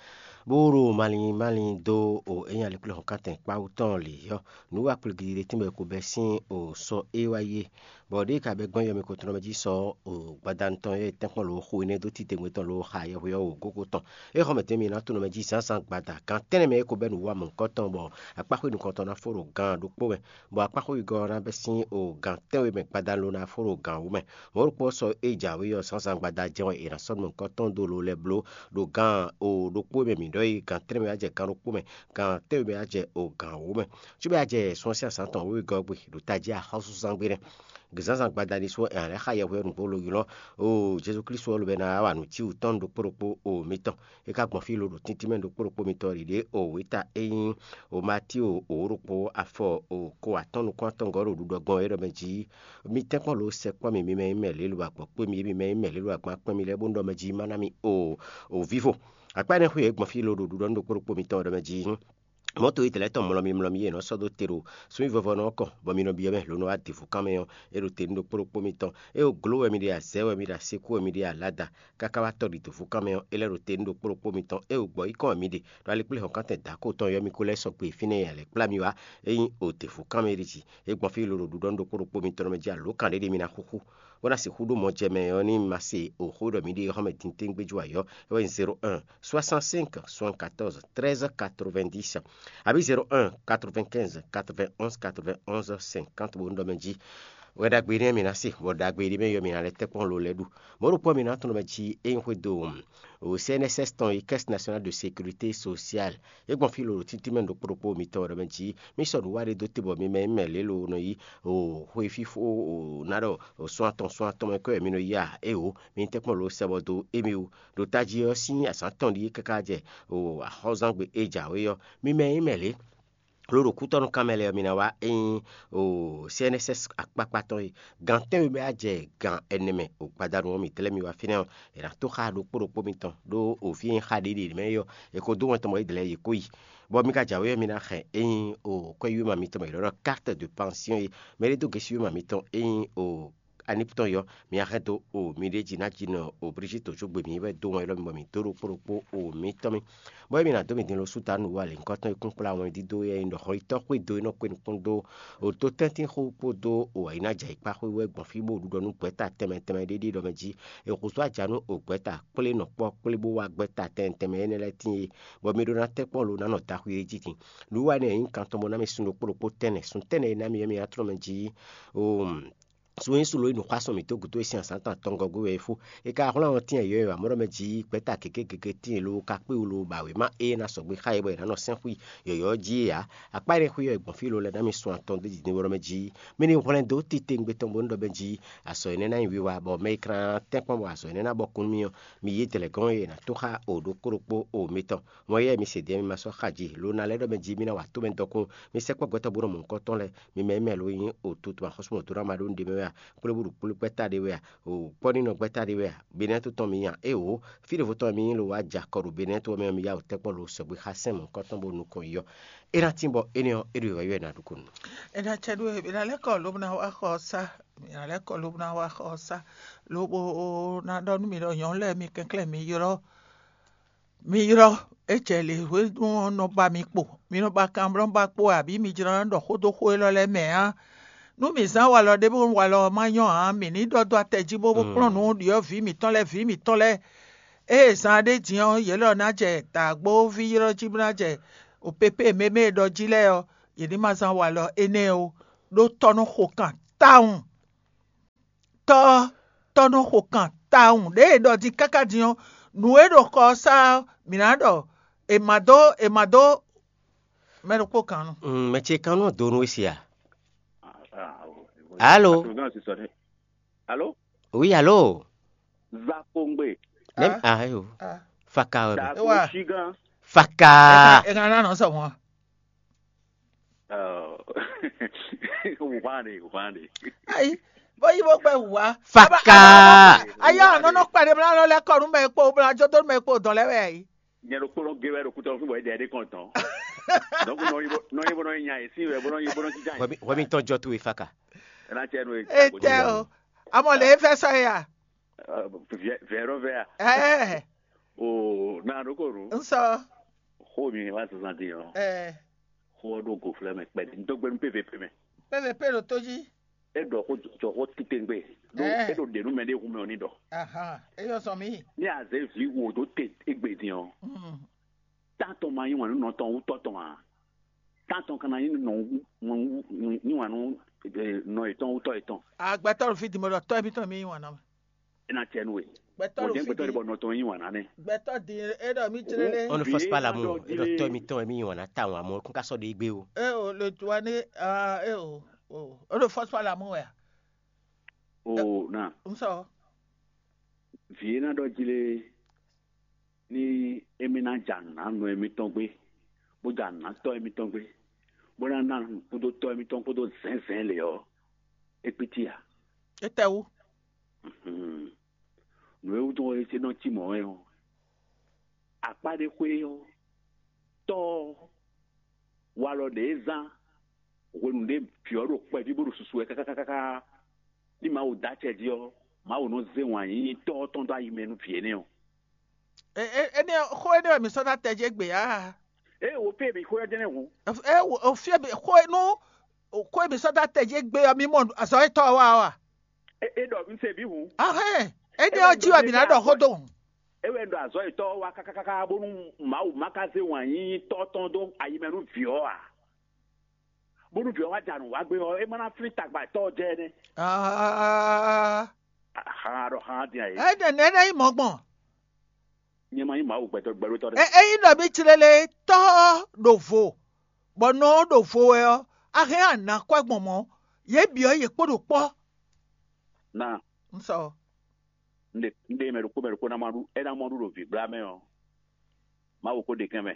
bó ɖo malín malín dó o é nyí alɛkplɔ́hɔn kántɛn kpáwú tɔn lě ɔ́, nǔ wa kplɔ́gídí ɖé tɛ́nbɔ è ko bɛ́ sín o sɔ é wá yi é. Bɔ ɖěe ka bɛ́ gbɔn yɔmɛ ko tɔn mɛ jí sɔ o gbadanu tɔn e tɛ́nkpɔ́n lǒ xo énɛ́ dó titewungbe tɔn lǒ xa yɛhwe ɔ́ o gógo tɔn. É xɔ mɛ tɛ́nmɛ ná tunɔ mɛ jí zǎnzǎn gbada gan tɛ́nnɛ mɛ é ko bɛ́ nǔ wa mɔ̌hunkɔtɔn, bɔ akpáxwé nukɔntɔn ná fó ɖo gan ɖokpó mɛ, bɔ akpáxwé wegɔ́ ɔ́ ná bɛ́ sín o gan tɛ́nwe mɛ gbadanu ló ná fó ɖo gan wǒ mɛ. Mɔ̌ ɖokpó ɔ́ sɔ é jǎwe ɔ́, zǎnzǎn gbada jɛ́n wɛ è nǎ sɔ́ nukɔntɔn dó lo lɛ́ɛ bló ɖo gan o ɖokpó e mɛ mǐ ɖɔ é gan tɛ́nnɛ mɛ wá jɛ gan ɖokpó mɛ, gan tɛ́nwe mɛ wá jɛ o gan wǒ mɛ. Cúbɛ a jɛ sun ɔ́ sín azǎn tɔn wěwegɔ́ gbe ɖo tají axɔ́súzán gbe nɛ́. Zǎnzǎn gbadanu ɖésú wɛ è nǎ lɛ́ xa yɛhweɔ́nú bó ló ylɔ́ o Jezu Klísu ɔ́ lobɛ ná wa nǔ cí wǔ tɔn ɖokpó ɖokpó o mitɔn. É ka gbɔn fí lo ɖo tíntín mɛ ɖokpó ɖokpó mitɔn ɖiɖě o wěta e nyí o Matío o ɖokpó afɔ o ko atɔ́ɔ́n nukún atɔngɔ́ ɖo ɖuɖɔ gbɔn é ɖɔ mɛ jí: Mi tɛ́nkpɔ́n lo sɛkpɔ́ mì, mi mɛ nyí mɛ lě lo agbɔ̌ kpé mi, mi mɛ nyí mɛ lě lo agban kpɛ́n mi lɛ́ɛ bó ɖɔ mɛ jí má ná mi o o vívo. Akpá énɛ́ xwé e gbɔn fí lo ɖo ɖuɖɔ nú ɖokpó ɖokpó mitɔn ɖɔ mɛ jí: Mɔ̌to e tɛlɛ̌ tɔn mlɔ́ mi mlɔ́ mi e è nɔ sɔ́ dó te ɖo súnnyívɔ́vɔ́ ɔ́ kɔn, bɔ mi nɔ byɔ́ mɛ lǒ nɔ wá devu kán mɛ ɔ́, é ɖo te nú ɖokpó ɖokpó mitɔn. É ɖo glǒ wɛ mi ɖe a, zɛ̌ wɛ mi ɖe a, sekú wɛ mi ɖe a, lada, káká wá tɔ́ ɖi dǒvú kán mɛ ɔ́, é lɛ́ ɖo te nú ɖokpó ɖokpó mitɔn. É ɖo gbɔ̌ yí kɔn wɛ mi ɖe, ɖo ali kplé hɔn kántɛn dǎkó tɔn yɔ́ mi kó lɛ́ sɔgbe fínɛ́ e a lɛ̌ kplá mi wá, é nyí o devu kán mɛ ɖi jí. É gbɔn fí lo ɖo ɖuɖɔ nú ɖokpó ɖokpó mitɔn mɛ jí alǒ kan ɖé ɖé mi ná xúxú, bó ná sixú ɖó mɔ jɛ mɛ ɔ́ ní ma se o xó ɖɔ mǐ ɖe xɔ́mɛ din téŋgbé jú ayɔ́, é wɛ nyí zéro un, soixante-cinq, soixante-quatorze, treize, quatre-vingt-dix, abǐ zéro un, quatre-vingt-quinze, quatre-vingt-onze, quatre-vingt-onze, cinquante bó ɖɔ mɛ jí. Wɛ ɖagbe nɛ́ mi ná se, bɔ ɖagbe ɖé mɛ yɔ mi ná lɛ́ tɛ́kpɔ́n lo lɛ́ ɖu. Mɔ̌ ɖokpó mi ná tunɔ mɛ jí é nyí xwédo o C N S S tɔn yi, Caisse Nationale de Sécurité Sociale. É gbɔn fí lo ɖo títí mɛ ɖokpó ɖokpó mitɔn ɖɔ mɛ jí mì sɔ́ nǔ wa ɖé dó te bɔ mi mɛ mɛ lě lo nɔ yi o xwe fífó o ná ɖɔ o sɔ́n atɔn sɔ́n atɔn mɛ kɔ́ wɛ mi nɔ yi a? Éwo, mi ní tɛ́nkpɔ́n lo sɛ bɔ dó émí wú. Ɖo tají ɔ́ sín azǎn tɔn ɖíe káká jɛ o axɔ́zán gbe e jǎwe ɔ́, mi mɛ nyí mɛ lě. Lo ɖo kútɔ́nú kan mɛ lɛ́ɛ ɔ́, mi ná wá ényí o C N S S akpákpá tɔn e gan tɛ́nwe bɛ á jɛ gan ɛnɛ mɛ o gbadanu ɔ́, mi dlɛ́ mi wá fínɛ́ ɔ́, è nǎ tó xá ɖokpó ɖokpó mitɔn ɖó o fí e nyí xá ɖě ɖě mɛ é ɔ́, è ko dó wɛn tɔn bɔ é dlɛ́ yě kó yi. Bɔ mi ka jǎwe ɔ́, mi ná xɛ ényí o kwɛ́ yúwéma mitɔn mɛ è nɔ ɖɔ carte de pension é, mɛ ɖé dó gěsí yúwéma mitɔn ényí o aniptɔn yɔ, mi ná xɛ dó o mi ɖé jí ná jí nɔ o Brigitte tó gbe mi wɛ dó wɛn élɔ́ mi bɔ mi dó ɖokpó ɖokpó o mitɔn mi. Bɔ émi ná dó mi din lo súta nǔ wa lěhunkɔtɔn e kún kplá wɛn dídó e nyí ɖɔ xɔyítɔ́ xwé dó e nɔ kpé nukún dó o tó tɛ́ntin xó kpódó o ayǐnájɛ yǐkpá xwé wɛ gbɔn fí bó ɖuɖɔ nú gbɛ̌ta tɛnmɛ tɛnmɛ ɖé ɖé ɖɔ mɛ jí è xuzú aja nú o gbɛ̌ta kplé nɔ kpɔ́ kplé bó wá gbɛ̌ta tɛnmɛ tɛnmɛ énɛ́ lɛ́ɛ tíin é, bɔ mi ɖó ná tɛ́ kpɔ́n lo ná nɔ daxwi é jí din. Nǔ wa énɛ́ nyí kan tɔn bó ná mi sun ɖokpó ɖokpó tɛnɛ, sun tɛnɛ e ná mi é mi ná tlɔ́n mɛ jí o sun e su lo yi nǔxwásɔn mǐtɔn gǔdo e sín azǎn tɔn atɔngɔ́ gbe wɛ é fó. È ka hwlɛ́n ɔ́ tínɛn yɔ̌yɔ́ ǎ, mɔ̌ ɖɔ mɛ jí gbɛ̌ta gěgé gěgé tíin lo ka kpé wú lo ba wěma e ná sɔgbe xá yě bɔ è nǎ nɔ sɛ́n xwí yɔ̌yɔ́ jí é ǎ. Akpá énɛ́ xwí ɔ́, è gbɔn fí lo lɛ́ɛ ná mi sun atɔn dó jǐ din bó ɖɔ mɛ jí mɛ ní hwlɛ́n dó titewungbe tɔn bó ní ɖɔ mɛ jí azɔ̌ énɛ́ ná nyí wiwa, bɔ mɛ e ka ná tɛ́nkpɔ́n bɔ azɔ̌ énɛ́ ná bɔ kún nú mì ɔ́, mi yí dɛ̌lɛ̌gɔ́n e è nǎ tó xá o ɖokpó ɖokpó o mitɔn. Mɔ̌ yɛ mi se din mi ma sɔ́ xa jí lo ná lɛ́ ɖɔ mɛ jí mi ná wa tomɛ dɔkun, mi sɛkpɔ́ gbɛtɔ́ bó nɔ mɔ nukɔn tɔn lɛ́ɛ, mi mɛ mɛ lo nyí o tutu axɔ́súmɔdónáma ɖó nǔɖé mɛ wɛ a? Kplé búɖu kplé gbɛ́ta ɖé wɛ a? O kpɔ́nínɔ gbɛ́ta ɖé wɛ a? Benɛ́ tó tɔn mi nya? Éwo, fí ɖěvo tɔn mi nyí lo wá ja kɔ ɖo Benɛ́ tó ɔ́ mɛ ɔ́, mi yá o tɛ́kpɔ́ lo sɔgbe xá sɛn mɔ̌hunkɔtɔn bó nukɔn yi ɔ́. É ná tín bɔ énɛ́ ɔ́, é ɖo wɛ yɔ ɛ ná ɖu kúnnu. È nǎ cɛ ɖó e, è nǎ lɛ́ kɔ lobɔ ná wá xɔ ɔ́ sá, è nǎ lɛ́ kɔ lobɔ ná wá xɔ ɔ́ sá, lobo ná ɖɔ nú mi ɖɔ nyɔ̌nu lɛ́ɛ mi kɛnklɛ́n mi ylɔ́. Mi ylɔ́, é jɛ lě hwenu ɔ́ nɔ ba mi kpo. Mi nɔ ba kanblɔ́nba kpo wɛ, abǐ mi jló ná ɖɔ xó dó xó élɔ́ lɛ́ɛ mɛ ǎ. Nú mǐ zán walɔ ɖé bónú walɔ ɔ́ má nyɔ́ ǎ, mǐ ní ɖɔ dó atɛ jí bó bó kplɔ́n nǔ ɖyɔ̌vǐ mǐtɔn lɛ́ɛ, vǐ mǐtɔn lɛ́ɛ. Ée zan ɖé din ɔ́, yě lɔ ná jɛ dǎgbóví ylɔ́ jí bó ná jɛ opépé mémé e ɖɔ jí lɛ́ɛ ɔ́, yě ní ma zán walɔ énɛ́ ó, ɖó tɔ́ nɔ xo kan tawun. Tɔ́ ɔ́, tɔ́ nɔ xo kan tawun ɖěe è ɖɔ din káká din ɔ́, nǔ e ɖo xɔ ɔ́ sá ɔ́, mǐ ná ɖɔ è ma dó è ma dó mɛ ɖokpó kan nu. Mm, mɛ ce kan nɔ do nú we sia. Alo. Alo. Oui, alo. Zakongbe. Nem ah yo. Faka wɛ. Dago Shigan. Faka. Ega na nɔ sɔ wọn. Wùwá ni, wùwá ni. Ayi, bó yí bó gbɛ wùwá. Faka. Ayé àná nɔ kpɛɖé mlá lɔ lɛ kɔnu mɛ kpó bla jɔ dó mɛ kpó dɔn lɛ wɛ ayi. Nyɛ ɖo kpɔnɔ gé wɛ ɖo kútɔ fún bɔ é dɛ ɖé kɔn tɔn. Donc nɔ yi bó nɔ yi bó nɔ yi nya yi sí wɛ bó nɔ yi bó nɔ jíjà yi. Wɛmi tɔn jɔ tu we faka. Ɛna cɛ nu e. E tɛ o, amɔ lè fɛ sɔ ya. Vɛ vɛ rɔ vɛ ya. Ɛɛ. O na ɖo ko nu. N sɔ. Xó mi wá zazan di ɔ. Ɛɛ. Xó ɔ́ ɖo goflɛ mɛ kpɛɖé. N dó gbé nú P V P mɛ. P V P ɖo tó jí. É ɖɔ xó jɔ xó titewungbe. Ɖó é ɖo ɖě nú mɛ ɖé hun mɛ ɔ́ ní ɖɔ. Ahan, é yɔ sɔ mí. Ní a zě vǐ wo dó te égbé din ɔ́, Mm. Tán tɔn ma yí wǎn nú nɔ tɔn wú tɔ́ tɔn ǎ. Tán tɔn ka ná yí nɔ wú- wú- yí wǎn nú eh, nɔ yětɔn wú tɔ́ yětɔn. Agbɛtɔ́ ɖo fí din bó ɖɔ tɔ́ émítɔn mi yí wǎn ná mɛ. É ná cɛ nú we. Gbɛtɔ́ Wò ɖo jɛ́n fí gbɛtɔ́ din. Ɖé bɔ nɔ tɔn yí wǎn ná nɛ́. Gbɛtɔ́ din é ɖɔ mí jlé lé. On ne force pas l'amour. Vǐ e ná ɖɔ É ɖɔ tɔ́ jí- émítɔn mi yí wǎn ná ta wǎn mɔ kún ká sɔ́ ɖo égbé o. É o le tu wá ní ah, é o o ó ɖo fɔ́sí wá l'amour wɛ a? O na N sɔ. Vǐ e ná ɖɔ jí lé ní émí ná ja nǔ ná nɔ émítɔn gbé, bó ja nǔ ná tɔ́ émítɔn gbé, bó ná ná nǔ kúdó tɔ́ émítɔn kpódó zɛ̌nzɛ̌n lě ɔ́, é kpítí ǎ. Étɛ́wú? Hmm. Nǔ e wútu ɔ́ é nɔ cí mɔ̌ wɛ ɔ́, akpá ɖé xwé ɔ́, tɔ́ ɔ́, walɔ ɖě e zán hwenu ɖě vǐ ɔ́ ɖo kpɛví bó ɖo susu wɛ káká ní Mawu dó acɛ jí ɔ́, Mawu nɔ zé wǎn yíyí tɔ́ ɔ́ tɔn dó ayi mɛ nú vǐ énɛ́ ɔ́. Énɛ́ xó énɛ́ wɛ mi sɔ́ ná tɛjí égbé ǎ. Ée wǒ fí e mi xó ɔ́ jɛ́n nɛ́ hǔn. Ó fí e xó e nú xó e mi sɔ́ ná tɛjí égbé ɔ́, mi mɔ azɔ̌ e tɔ́ ɔ́ wa ɔ́ a? É ɖɔ un se vǐ hǔn. Ahɛn, énɛ́ ɔ́ jí wɛ mǐ ná ɖɔ xó dó hǔn. É wɛ un ɖɔ azɔ̌ yětɔn wá kákákáká bónú Mawu ma ka zé wǎn yíyí tɔ́ tɔn dó ayi mɛ nú vǐ ɔ́ ǎ. Bónú vǐ ɔ́ wá ja nǔ wá gbé ɔ́, é ma ná flín tagba tɔ́ ɔ́ jɛ nɛ́. Aa, Xan ɖɔ xan din ayé. Ɛ ɖe nɛ́ ná nyí mɔ̌ gbɔn. Nyɛ ma nyí Mawu gbɛtɔ́ gbɛɖótɔ́ ɖé. Ɛ ényí ɖɔ mí clé lé tɔ́ ɔ́ ɖo vo, bɔ nɔ ɔ́ ɖo vo wɛ ɔ́, a hɛn a nǎ kɔ ɛ gbɔn mɔ̌. Yě bǐ ɔ́, yě kpo ɖo kpɔ́. Na Un sɔ. Un ɖe un ɖe mɛ ɖokpó mɛ ɖokpó ná ma ɖu é ná mɔ ɖu ɖo vǐgbla mɛ ɔ́, Mawu ko ɖe kɛn mɛ.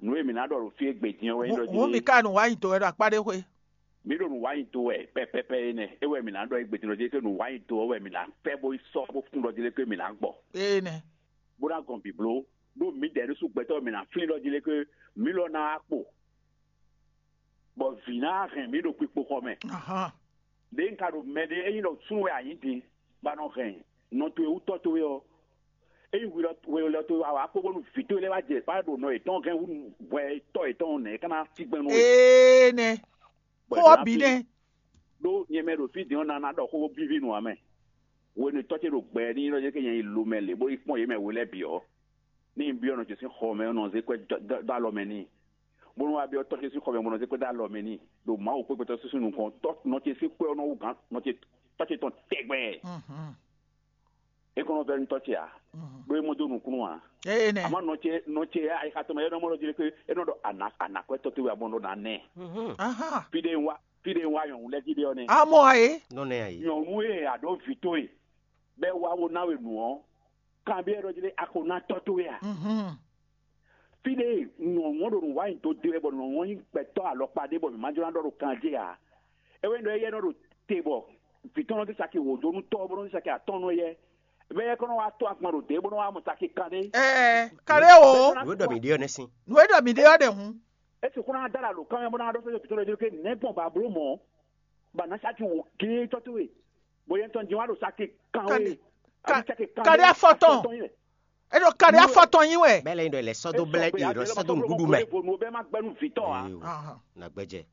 Nǔ e mǐ ná ɖɔ ɖo fí e gbe din ɔ́ wɛ nyí ɖɔ Hǔn mi ka nǔ wa nyi do wɛ ɖo akpá ɖé xwé. Mǐ ɖo nǔ wa nyi do wɛ pɛpɛpɛ énɛ́, é wɛ mǐ ná ɖɔ é gbe din ɔ́ jí, é nǔ wa nyi do ɔ́ wɛ mǐ ná fɛ bó yi sɔ́ bó fún ɖɔ jí lé ké mǐ ná gbɔ. Énɛ́. Bó ná gɔn bǐbló, ɖó mǐdɛɛ ɖésú gbɛtɔ́ mǐ ná flín ɖɔ jí lé ké mǐ lɔ ná wá kpo. Bɔ vǐ ná hɛn mǐ ɖo kpikpoxɔ mɛ. Ahán. Ɖěe un ka ɖo mɛ ɖé, ényí ɖɔ súnnu wɛ a nyǐ din, bɔ a nɔ hɛn nɔ towe wú tɔ́ towe ɔ́, ényí hwelɔ towe wá wá kpó bónú vǐ towe lɛ́ɛ wá jɛ kpá ɖo nɔ yětɔn hɛn hú hwɛ tɔ́ yětɔn nɛ̌ é ka ná cí gbɛn nú we? Ee nɛ. Bɔ Xó ɔ́ bǐ nɛ́. Ɖó nyɛ mɛ ɖo fí din ɔ́, na ná ɖɔ xó víví nú ǎ mɛ. Hwenu e tɔ́ ce ɖo gbɛ ní ylɔ́ jɛ ké nyɛ yi lo mɛ lě bó yi kpɔ́n yě mɛ we lɛ́ɛ bǐ ɔ́, ní un byɔ́ nɔ ce sín xɔ mɛ ɔ́, nɔ zé kwɛ́ dó alɔ mɛ n'i, bónú wá byɔ́ tɔ́ ce sín xɔ mɛ bó nɔ zé kwɛ́ dó alɔ mɛ n'i, ɖo Mawu kpé gbɛtɔ́ súsú nukɔn, tɔ́ nɔ ce sín xwé ɔ́ nɔ wú gǎn nɔ ce tɔ́ ce tɔn tɛgbɛ. É kɔn nɔ vɛ́ nú tɔ́ ce ǎ, ɖó é mɔ dó nukúnnú ǎ. Ée nɛ. Amɔ̌ nɔ ce nɔ ce ayixa tɔn mɛ é nɔ mɔ ɖɔ jí lé ké é nɔ ɖɔ ana ana kwɛ́ tɔ́ towe abɔn ɖɔ ná nɛ. Fí ɖé ń wá fí ɖé ń wá nyɔ̌nu lɛ́ɛ jí ɖé ɔ́ nɛ́. Amɔ ayé. Nɔ nɛ ayi. Nyɔ̌nu e a ɖǒ vǐ towe bɔ é wá wo ná we nǔ ɔ́, kanbyɔ́ ɖɔ jí lé a ko ná tɔ́ towe a? Fí ɖé nyɔ̌nu ɔ́ ɖo nǔ wa nyi do de wɛ bɔ nyɔ̌nu ɔ́ nyí gbɛtɔ́ alɔkpa ɖé bɔ mǐ ma jló ná ɖɔ ɖo kan jɛ ǎ. É wɛ nyí ɖɔ éyɛ́ nɔ ɖo te bɔ vǐ tɔn nɔ dó saki wǒ dó nú tɔ́ ɔ́ bó nɔ dó saki atɔ́ɔ́n nú éyɛ́. Bɔ éyɛ́ kɔn nɔ wá tó agban ɖo dě bó nɔ wá mɔ saki kanɖé. Ɛɛ, kanɖé o. Nǔ e ɖɔ mǐ ɖe ɔ́ nɛ́ sín. Nǔ e ɖɔ mǐ ɖe ɔ́ ɖe hǔn. É sixú ná dó alǎ ɖo kanwɛ bó ná ɖɔ sɔ́ vǐ tɔn lɛ́ɛ jí lé ké nɛ̌ gbɔn ba bló mɔ̌, bɔ a nǎ saki wǒ géé tɔ́ towe. Bɔ yɛn tɔn jɛn wá ɖo saki kanwé. Kanɖé afɔtɔn. É ɖo kanɖé afɔtɔn nyi wɛ. Bɛlɛ ɖɔ lɛ sɔdɔ blɛ ɖi ɖɔ sɔdɔ ŋuɖuɖu mɛ. Vo nu bɛ ma gbɛnu vitɔ a. Na gbɛjɛ.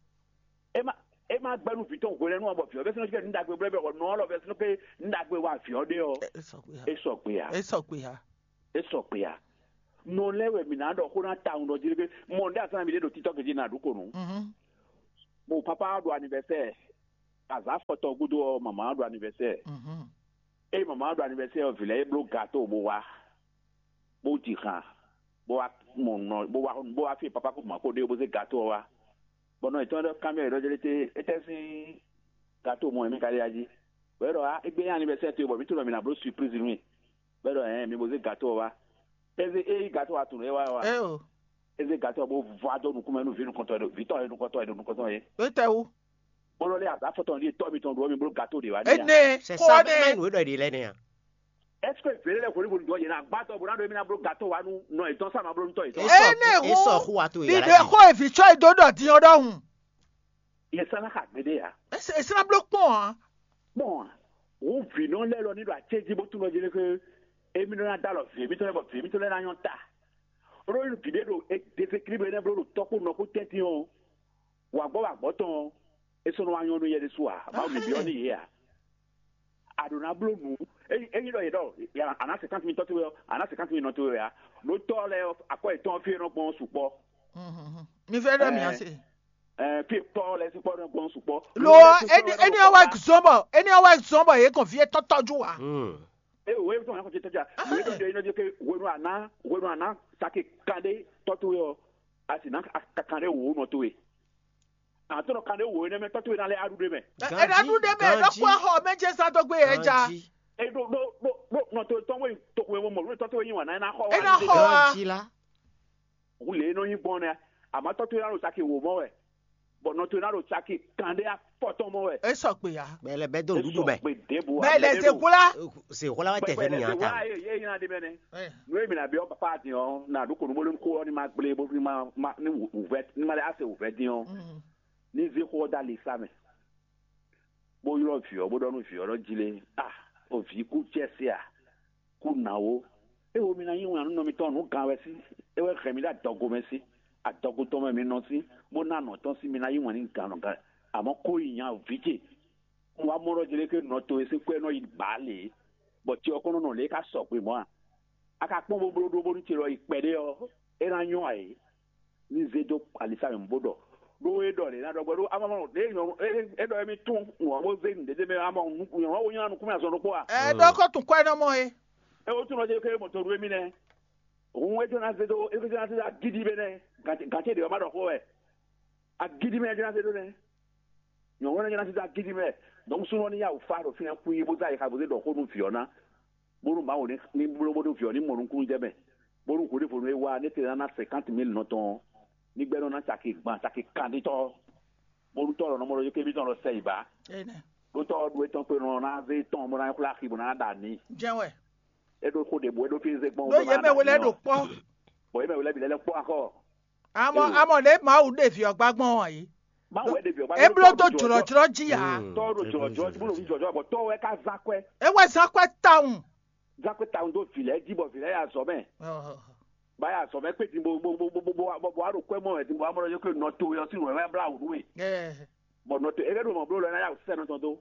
E ma e ma gbɛnu vitɔ hwelɛnu a bɔ viɔ bɛ sinu kɛ nu dagbe blɛ bɛ wɔ nɔ lɔ bɛ sinu kɛ nu dagbe wa viɔ de ɔ. E sɔgbe ya. E sɔgbe ya. E sɔgbe ya. Nɔ lɛ wɛ mi na ɖɔ ko na ta ŋu ɖɔ jiri ke mɔ nde asana mi de ɖo titɔ ke ji na ɖu ko nu. Bon papa ɖo anniversaire. Azǎn afɔtɔn gúdo ɔ́, mama ɔ́ ɖo anivɛsɛ́ɛ. Ée mama ɔ́ ɖo anivɛsɛ́ɛ ɔ́, vǐ lɛ́ɛ é bló gato bó wá, bó ji han, bó wá mɔ nɔ, bó wá bó wá fí papa kó mɔ kó ɖe bó zé gato ɔ́ wá. Bɔ nɔ yětɔn ɖɔ kanbyɔ́ yě ɖɔ jlé té, étɛ́ sín gato mɔ wɛ mì ka ɖe ají? Bɔ é ɖɔ á, égbé nyí anivɛsɛ́ɛ towe bɔ mǐ tunɔ mǐ ná bló surprise nú we. Bɔ é ɖɔ ɛ̌ɛn, mi bo zé gato ɔ́ wá. É zé é yí gato ɔ́ tunwun é wá ɔ́ wá. É o. É zé gato ɔ́ bó vɔ adó nukúnmɛ nú vǐ nukɔntɔn e ɖo vǐ tɔn e nukɔntɔn e ɖo nukɔntɔn é. Étɛ́wú? Bó nɔ lé azǎn afɔtɔn ɖíe tɔ́ mitɔn ɖó mi bló gato ɖě wá n'i a? Énɛ́. C'est kó ça ɔ́ même nɛ́. Nous doit de l'année. Est-ce que vě lɛ́ hwenu hwenu ɖɔ yě ná gbá tɔ bó ná ɖo émí ná bló gato wá nú nɔ yětɔn sá ma bló nú tɔ yětɔn? Énɛ́ Esɔ hú. Xó wa to Ìɖe yàrá xó evǐ tsɔ́ e dó ɖɔ din ɔ́ ɖɔhun. Yě sá ná xa gbeɖé ǎ. Èsì ná bló kpɔ́n ǎ. Kpɔ́n ǎ. Wǒ vǐnɔ lɛ́ɛ lɔ ní ɖo acéjí bó tunɔ jí lé xé émí nɔ ná dó alɔ vǐ émítɔn lɛ́ɛ bɔ vǐ émítɔn lɛ́ɛ ná nyɔ́ ta. Ɖó nú vǐ ɖé ɖo Desekílíblu énɛ́ bló ɖo tɔ́ kpó nɔ kpó tɛ́ntin ɔ́, wǎgbɔ́ wǎgbɔ́ tɔn ɔ́, é sɔ́ nɔ wá nyɔ́ nú yɛ ɖésú ǎ. Mawu ní byɔ́ nú yě ǎ. A ɖǒ ná bló nǔ. Ényí ɖɔ yě ɖɔ a nǎ sɛkánti mì tɔ́ towe ɔ́, a nǎ sɛkánti mì nɔ towe wɛ ǎ. Ɖó tɔ́ lɛ́ɛ ɔ́, akwɛ́ yětɔn ɔ́ fí e nɔ gbɔn ɔ́ sukpɔ́. Mi fẹ́ ɖɔ mǐ ase. Fí e tɔ́ lɛ́ɛ sukpɔ́ nɔ gbɔn ɔ́ sukpɔ́. Lo ɔ́, éní ɔ́ wá zɔn bɔ éní ɔ́ wá zɔn bɔ yě kɔn fí é tɔ́tɔ́jú wa. É wò é tɔn yàn kɔn tɔ́jà. Wò é tɔn jɛ iná jẹ́ pé hwenu àná hwenu àná sake kanɖé tɔ́ towe ɔ́, a sì ná kanɖé wò ó nɔ towe. Àtɔ́nɔ kanɖé wò énɛ́ mɛ tɔ́ towe ná lɛ́ aɖu ɖé mɛ. Ɛ ná ɖu ɖé mɛ ɖɔkpɔ xɔ mɛ jɛ zan dó gbé yɛ ja. Ganji. E ɖo ɖo ɖo ɖo nɔ to tɔn wɛ toxo wɛ mɔ lórí tɔ́ towe nyi wà ná ná xɔ wà. É ná xɔ wa. Ganji la. Hu lě e nɔ nyi gbɔn nɛ, àmọ́ tɔ́ towe ná ɖo saki wò mɔ wɛ, bɔ nɔ towe ná ɖo saki kanɖé afɔtɔn mɔ wɛ. É sɔ gbe ya. Bɛlɛ bɛ do nuɖuɖu mɛ. Gbe ɖěbǔ. Bɛlɛ zegbla. Se xɔla wa tɛ fɛ mi yan ta. Ye ye yina ɖe mɛ nɛ. Nú èmi nà byɔ́ papa din ɔ́, nà ɖó kò nú bó lé kó ɔ́ ní ma gblé bó ní ma ma ní wǔvɛ́ ní ma lɛ á se wǔvɛ́ dín ɔ́, ní zé xó ɔ́ dó ali sá mɛ, bó ylɔ́ vǐ ɔ́, bó ɖɔ nú vǐ ɔ́ ɖɔ jí lé, a o vǐ kú cɛ́ se a, kú nǎ ó. É wo mi ná yí wǎn nú nɔ mitɔn nǔ gan wɛ sí, é wɛ hɛn mi ɖó adɔgo mɛ sí, adɔgo tɔn mɛ mi nɔ sí, bó ná nɔ tɔn sí mi ná yí wǎn nú gan nɔ gan, àmọ́ kó yi nya vǐ ce. Un wá mɔ ɖɔ jí lé ké nɔ towe sín kwɛ́ nɔ yi bǎ lě, bɔ ce ɔ́ kɔn nɔ nɔ lě é ká sɔgbe mɔ̌ a? A ka kpɔ́n bó bló ɖó bónú ce lɔ yi kpɛɖé ɔ́, é ná nyɔ́ ǎ é. Ní zé dó alisa mɛ bó ɖɔ, ɖó é ɖɔ lě ná ɖɔ gbɔ ɖó amamɔ lě é ɖɔ émí tún wǎn bó zé nǔɖéɖé mɛ amɔ nyɔ̌ wo nyɔ́ nukún mɛ azɔn ɖokpó a? Ɛ ɖɔ kó tún kwɛ nɔ mɔ é. É wó tún nɔ jẹ́ ké mɔ̀tò ɖó émí nɛ́. Hǔn é jɔ ná zé dó é jɔ ná zé dó agídí mɛ nɛ́. Gǎnce ɖě ɔ́ má ɖɔ xó wɛ. Agídí mɛ é jɔ ná zé dó nɛ́. Nyɔ̌nu lɛ́ɛ ná sisa gidi mɛ, dɔnku súnɔ ní yá wǔ fa ɖo fínɛ́ xwí bó zá yi xa bó zé ɖɔ xó nú vǐ ɔ́ ná, bónú Mawu ní ní bló bónú vǐ ɔ́ ní mɔ nukúnnú jɛ mɛ, bónú hweɖěvonu e wá ní tlɛ ná ná sɛnkánt mil nɔ tɔn ɔ́, ní gbɛ́ nɔ ná caki gban caki kanɖítɔ́, bónú tɔ́ lɔ nɔ mɔ ɖɔ yí kébí tɔn lɔ sɛ yi bǎ. Ɖó tɔ́ ɔ́ ɖu étɔn kpe nɔ ná zé tɔn bó ná xwlá axi bó ná ɖa nǐ. Jɛ́n wɛ. É ɖó xó ɖě bú é ɖó fí zé gbɔn. Ɖó yě mɛ we lɛ́ɛ ɖo kpɔ́. Bɔ yě mɛ we lɛ́ɛ bǐ lɛ́ lɛ́ kpɔ́ axɔ. Amɔ amɔ lě Mawu ɖe vǐ ɔ́ gbá gbɔn ɔ́ yě. Mawu wɛ ɖe vǐ ɔ́ gbá. É bló dó jlɔ̌jlɔ́ jí ǎ. Tɔ́ ɖo jlɔ̌jlɔ́ jí bó ɖo jlɔ̌jlɔ́ bɔ tɔ́ wɛ ká zán kwɛ́. É wɛ zán kwɛ́ tawun. Zán kwɛ́ tawun dó vǐ lɛ́ɛ jí bɔ vǐ lɛ́ɛ ya azɔ̌ mɛ. Bá ya azɔ̌ mɛ kpé din bo bo bo bo bo bo bo wá ɖo kwɛ́ mɔ wɛ din bo wá mɔ ɖɔ yókè nɔ towe ɔ́ sín nǔ wɛ blá wǔ nú we. Bɔ nɔ to é ɖo mɔ bló lɔ ná ya wǔ sɛ nɔ tɔn dó.